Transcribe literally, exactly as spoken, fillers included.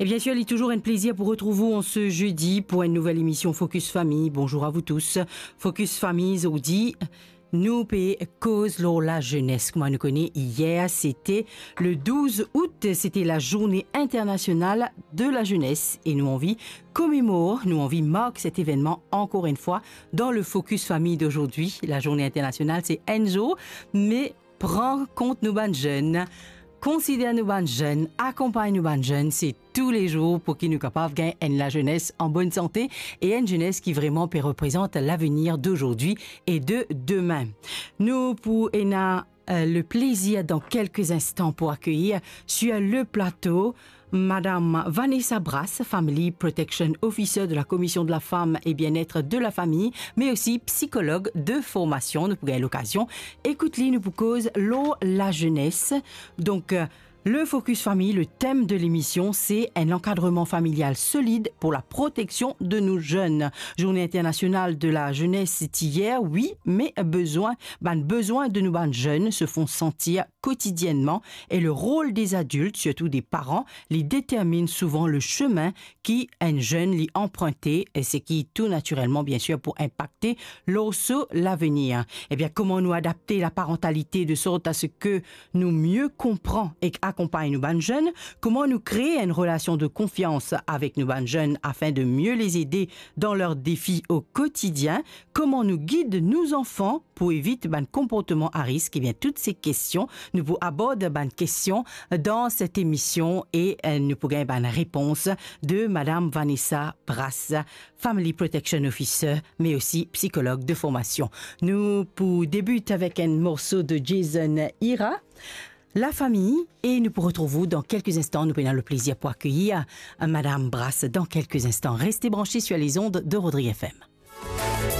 E bien sir, li touzour enn plezir pou retrouv ou an se zedi pou enn nouvel emision Focus Famille. Bonzour a vou tous. Focus Famille, zordi, nou pe koz lor lazenes. Kouma nou kone, yer, sete le douz out, sete la Journée Internationale de la Jeunesse. E nou anvi komemor, nou anvi mark set evennman ankor enn fwa dan le Focus Famille d'aujourd'hui. La Journée Internationale, se enn zour, me pran kont nou bann zenn, konsider nou bann zenn, akonpagn nou bann zenn, se toulezour pou ki nou kapav gagn enn lazenes an bonn sante e enn zenes ki vreman pe reprezant lavenir d'aujourd'hui et de demain. Nou pou ena, euh, le plezir dan kelke zinstan pou akeyir sur le plato Madame Vanessa Brasse, Family Protection Officer de la Commission de la Femme et Bien-être de la Famille, me osi psikolog de formasion. Nou pou gagn lokazion ekout li, nou pou koz lor lazenes. Donk, euh, le Focus Famille, le tem de lemision, se enn ankadreman familial solid pou la proteksion de nou zenn. Journée Internationale de la Jeunesse ti yer, wi, me bizin, bann bizin de nou bann zenn se font santir kotidienneman, e le rol de adilt, sirtou de paran, li determinn souvan le semin ki enn zenn li anprinte, e seki tou natirelman, bien sir, pou inpakte lor so lavenir. E bien, kouma nou adapte laparantalite de sort a se ke nou mie konpran ek akonpagn nou bann zenn? Kouma nou kree enn relasion de konfians avek nou bann zenn afin de mie les ede dan ler defi o kotidien? Kouma nou gid nou zanfan pou evit bann konportman a risk? Ebien, tou se kestion, nou pou abord bann kestion dan set emision e, eh, nou pou gagn bann repons de Madame Vanessa Brasse, Family Protection Officer, me osi psikolog de formasion. Nou pou debit avek enn morso de Jason Hira, La Famille, e nou pou retrouv ou dan kelke zinstan. Nou pou ena le plezir pou akeyir, eh, Madame Brasse dan kelke zinstan. Reste branche sur les ondes de Rodrigue F M.